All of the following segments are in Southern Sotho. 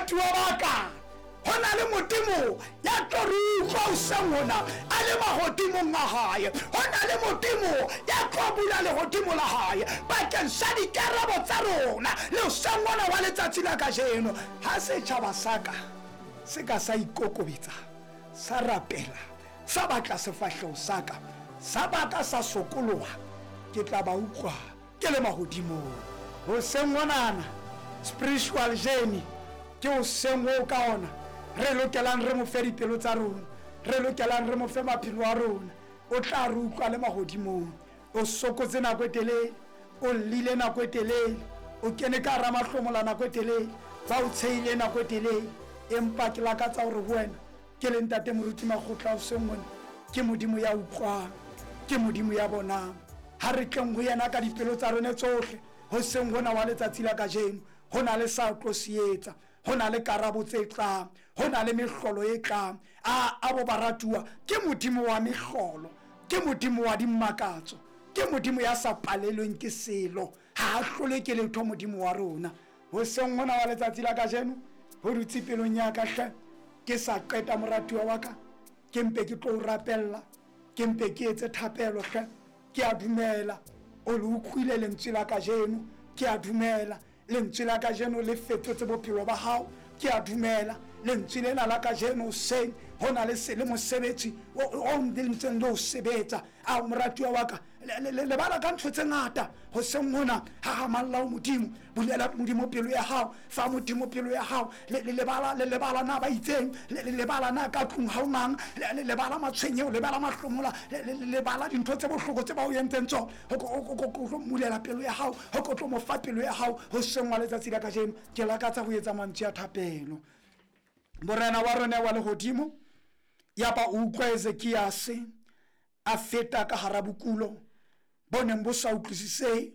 Baratuwa ba ka, ho na le Modimo ya tlo re utlwa hoseng hona a le mahodimong a hae. Ho na le Modimo ya tlo bula lehodimo la hae bakeng sa dikarabo tsa rona le hoseng hona wa letsatsi la kajeno. Ha setjhaba sa ka se ka sa ikokobetsa, sa rapela, sa batla sefahleho sa ka, sa baka sa sokoloha, ke tla ba utlwa ke le mahodimong. Hoseng honana, spiritual journey ke hoseng oo ka ona re lokelang re mo fe dipelo tsa rona, re lokelang re mo fe maphelo a rona. O tla re utlwa le mahodimong. O sokotse nako e telele, o llile nako e telele, o kene ka hara mahlomola nako e telele, ba o tshehile nako e telele, empa ke lakatsa hore ho wena ke le Ntate Moruti Makgotla hoseng hona, ke Modimo ya utlwang, ke Modimo ya bonang. Ha re tleng ho yena ka dipelo tsa rone tsohle hoseng hona wa letsatsi la kajeno. Ho na le sa tlo se etsa, ho na le karabo tse tlang, ho na le mehlolo e tlang. A abo baratuwa, ke Modimo wa mehlolo, ke Modimo wa dimakatso, ke Modimo ya sa palelweng ke selo. Ha a hlolwe ke letho Modimo wa rona. Hoseng hona wa letsatsi la kajeno, ho dutse pelong ya ka hle, ke sa qeta moratuwa wa ka, ke mpe ke tlo o rapella, ke mpe ke etse thapelo hle. Ke a dumela o le utlwile lentswe la kajeno. Ke a dumela lentswe la kajeno le fetotse bophelo ba hao. Ke a dumela lentswe lena la kajeno hoseng ho na le se le mosebetsi o ntseng le o sebetsa. A moratuwa wa ka, lebala ka ntho tse ngata hoseng hona. Hahamalla ho Modimo, bulela Modimo pelo ya hao, fa Modimo pelo ya hao. Lebala, lebala na ba itseng, lebala na ka tlung ha o mang, lebala matshwenyeho, lebala mahlomola, lebala dintho tse bohloko tse ba o entseng tsona. O tlo mmulela pelo ya hao, o tlo mo fa pelo ya hao hoseng wa letsatsi la kajeno. Ke lakatsa ho etsa mantswe a thapelo. Morena wa rona wa lehodimo, ya ba o utlwa Ezekiase a feta ka hara bokulo bo neng bo sa utlwisisehe,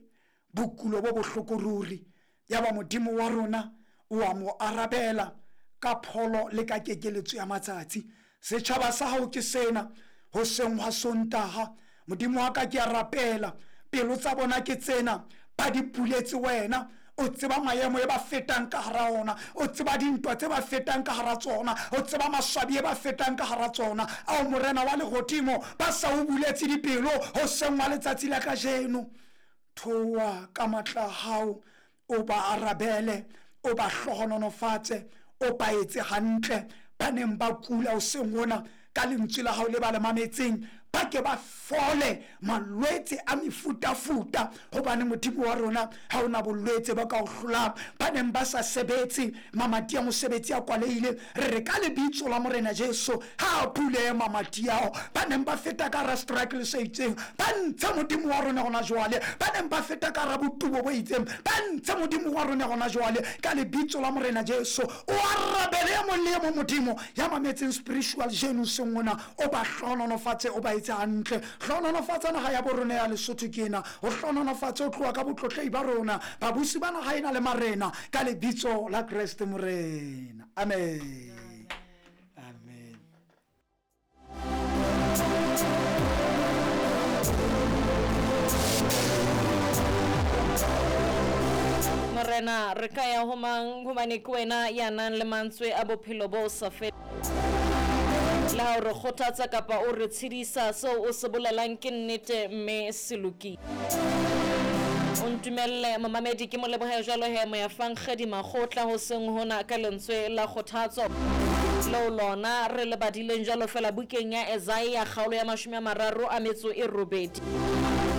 bokulo bo bohloko ruri. Ya ba Modimo wa rona o a mo arabela ka pholo le ka kekeletso ya matsatsi. Setjhaba sa hao ke sena hoseng hwa Sontaha. Modimo wa ka, ke a rapela, pelo tsa bona ke tsena, ba di buletse wena. O tseba maemo e ba fetang ka hara ona, o tseba dintwa tse ba fetang ka hara tsona, o tseba maswabi e ba fetang ka hara tsona. Ao Morena wa lehodimo, ba sa o buletse dipelo hoseng wa letsatsi la kajeno. Theoha ka matla a hao, o ba arabele, o ba hlohonolofatse, o ba etse hantle. Ba neng ba kula hoseng hona, ka lentswe la hao le ba le mametseng, ba ke ba fole malwetse a mefutafuta, hobane Modimo wa rona ha o na bolwetse ba ka o hlolang. Ba neng ba sa sebetse, mamati a mosebetsi a kwalehile, re re ka lebitso la Morena Jesu ha a bulehe mamati ao. Ba neng ba feta ka hara struggle se itseng, ba ntshe Modimo wa rona hona jwale. Ba neng ba feta ka hara botubo bo itseng, ba ntshe Modimo wa rona hona jwale ka lebitso la Morena Jesu. O arabele e mong le e mong Modimo ya mametseng spiritual jeno seng ona, o ba hlohonolofatse, o ba etse hantle. Hlohonolofatsa naha ya borona ya Lesotho ke ena, o hlohonolofatse o tloha ka botlotlehi ba rona, babusi ba naha ena le marena, ka lebitso la Kreste Morena. Amen. Amen. Morena, re ka ya ho mang, hobane ke wena ya nang le mantswe a bophelo bo sa feleng. Le ha o re kgothatsa kapa o re tshedisa, seo o se bolelang ke nnete mme se lokile. O ntumelle momamedi ke mo lebohe jwalo he Moyafankgedi Makgotla hoseng hona ka lentswe la kgothatso leo lona re le badileng jwalo fela bukeng ya Esaia kgaolo ya 38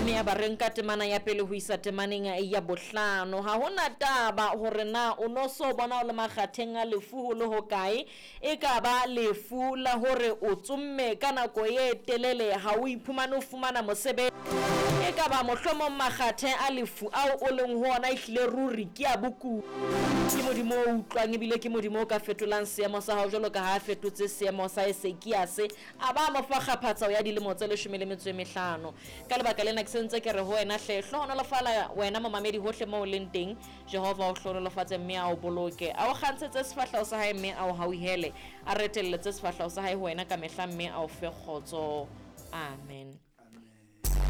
mme ya ba re nka temana ya pele ho isa temaneng ya bohlano. Ha ho na taba hore na o no so bona o le makgatheng a lefu ho le hokae, e ka ba lefu la hore o tsomme ka nako e telele ha o iphumane o fumana mosebetsi, e ka ba mohlomong makgathe a lefu ao o leng ho ona ehlile ruri ke a bokudi. Ke Modimo o utlwang ebile ke Modimo o ka fetolang seemo sa hao jwalo ka ha a fetotse seemo sa Esekiase a ba mo fa kgaphatsao ya dilemo tse 15. Ka lebaka lena ke sentse ke re ho wena hle, hlohonolofala wena momamedi hohle moo o leng teng. Jehova o hlohonolofatse mme a o boloke, a o kgantshetse sefahleho sa hae mme a o hauhele, a retelletse sefahleho sa hae ho wena kamehla mme a o fe kgotso. Amen.